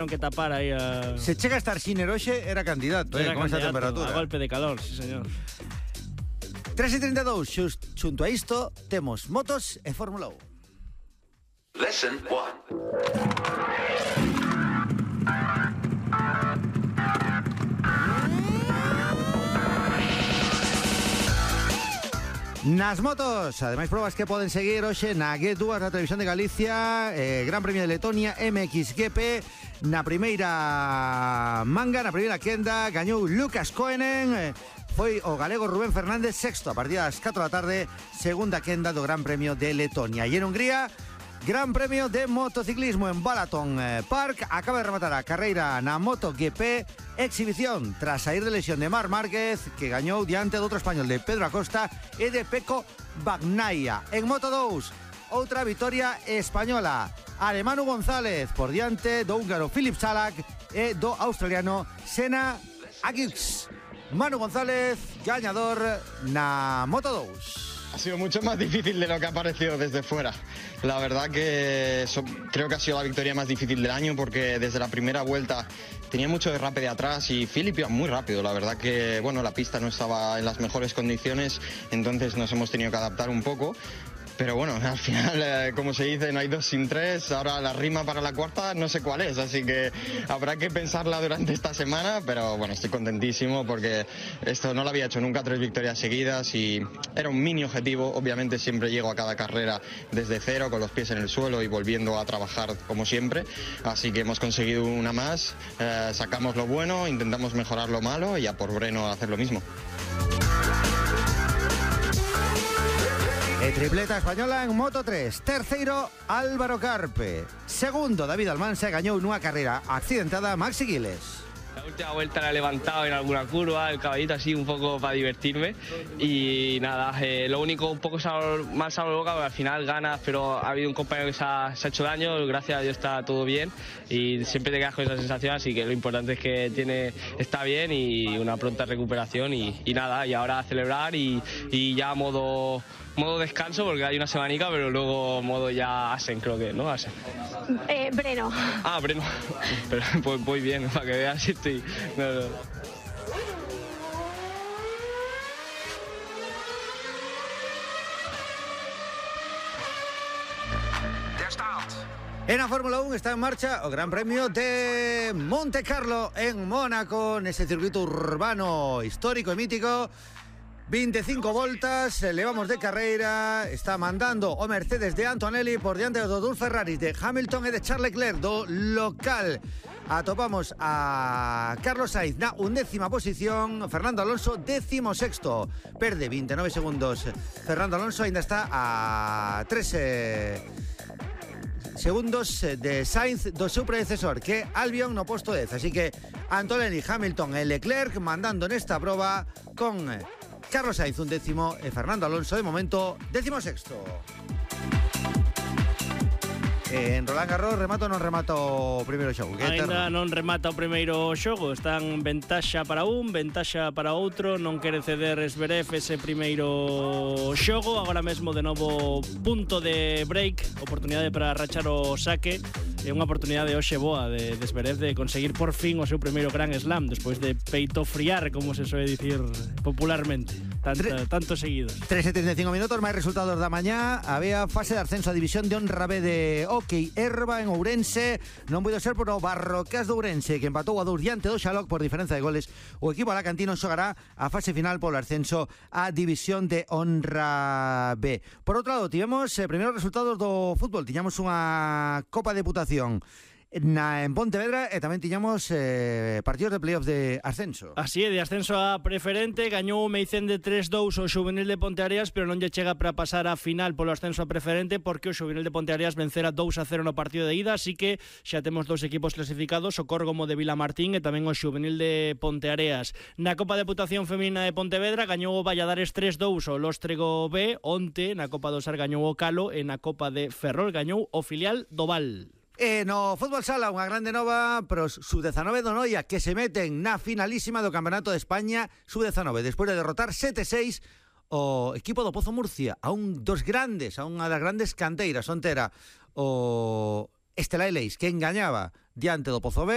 que tapar aí Se chega a estar Sinner hoxe, era candidato, con esta temperatura. A golpe de calor, sí, señor. 3:32, xunto a isto, temos motos e Fórmula 1. Lesson 1. Nas motos, ademais probas que poden seguir hoxe na G2, na Televisión de Galicia, Gran Premio de Letonia, MXGP. Na primeira manga, na primeira quenda, gañou Lucas Koenen. Foi o galego Rubén Fernández sexto a partir das 4 da tarde, segunda quenda do Gran Premio de Letonia. E en Hungría, Gran Premio de motociclismo en Balaton Park. Acaba de rematar a carreira na MotoGP, exhibición tras sair de lesión de Marc Márquez, que gañou diante do outro español de Pedro Acosta e de Pecco Bagnaia. En Moto2, outra vitoria española, a de Manu González por diante do húngaro Filip Salak e do australiano Senna Agius. Manu González, gañador na Moto2. Ha sido mucho más difícil de lo que ha parecido desde fuera. La verdad que creo que ha sido la victoria más difícil del año, porque desde la primera vuelta tenía mucho derrape de atrás y Philip iba muy rápido. La verdad que bueno, la pista no estaba en las mejores condiciones, entonces nos hemos tenido que adaptar un poco. Pero bueno, al final, como se dice, no hay dos sin tres. Ahora la rima para la cuarta no sé cuál es, así que habrá que pensarla durante esta semana. Pero bueno, estoy contentísimo porque esto no lo había hecho nunca, 3 victorias seguidas, y era un mini objetivo. Obviamente siempre llego a cada carrera desde cero, con los pies en el suelo y volviendo a trabajar como siempre. Así que hemos conseguido una más, sacamos lo bueno, intentamos mejorar lo malo y a por Breno hacer lo mismo. Tripleta española en Moto3. Terceiro, Álvaro Carpe. Segundo, David Almansa, gañou nunha carreira accidentada Maxi Giles. La última vuelta la he levantado en alguna curva, el caballito así un poco para divertirme, y nada, lo único un poco mal sabor de boca, porque al final ganas, pero ha habido un compañero que se ha hecho daño, gracias a Dios está todo bien y siempre te quedas con esa sensación, así que lo importante es que está bien y una pronta recuperación y nada, y ahora a celebrar y ya modo descanso, porque hay una semanica, pero luego modo ya Asen, creo que, ¿no? Asen. Breno. Ah, Breno. Pero pues voy bien, para que veas si estoy... No. En la Fórmula 1 está en marcha o Gran Premio de Monte Carlo en Mónaco, nese circuito urbano histórico e mítico. 25 voltas, levamos de carreira, está mandando o Mercedes de Antonelli por diante dos dous Ferraris de Hamilton e de Charles Leclerc do local. Atopamos a Carlos Sainz na 11ª posición, Fernando Alonso 16º, perde 29 segundos. Fernando Alonso ainda está a 3 segundos de Sainz do seu predecesor, que Albon no posto 10. Así que Antonelli, Hamilton e Leclerc mandando nesta proba con Carlos Sainz 11º e Fernando Alonso de momento 16º. En Roland Garros, remato ou non remato o primeiro xogo? Ainda non remata o primeiro xogo, están ventaxa para un, ventaxa para outro, non quere ceder Zverev ese primeiro xogo, agora mesmo de novo punto de break, oportunidade para rachar o saque, e unha oportunidade hoxe boa de Zverev de conseguir por fin o seu primeiro Grand Slam, despois de peito friar, como se soe dicir popularmente, tantos seguidos. 3:75 minutos, máis resultados da mañá. Había fase de ascenso a División de Honra B de Hockey Herba en Ourense. Non puido ser por o Barrocas de Ourense, que empatou a 2 diante do Xaloc por diferenza de goles. O equipo alacantino xogará a fase final polo ascenso a División de Honra B. Por outro lado, tivemos primeiros resultados do fútbol. Tiñamos unha Copa de Deputación en Pontevedra e tamén tiñamos partidos de playoff de ascenso. Así é, de ascenso a preferente, gañou o Meicén de 3-2 o Xuvenil de Ponteareas, pero non lle chega para pasar a final polo ascenso a preferente, porque o Xuvenil de Ponteareas vencera 2-0 no partido de ida, así que xa temos dous equipos clasificados, o Córgomo de Vilamartín e tamén o Xuvenil de Ponteareas. Na Copa de Deputación Feminina de Pontevedra gañou o Valladares 3-2 o Lóstrego B, onte na Copa do Sar gañou o Calo e na Copa de Ferrol gañou o filial do Val. No fútbol sala, unha grande nova para os sub-19 do Noia, que se meten na finalísima do Campeonato de España sub-19, despois de derrotar 7-6 o equipo do Pozo Murcia, a un dos grandes, a unha das grandes canteiras, onte era o Estela Eleis, que engañaba diante do Pozo B.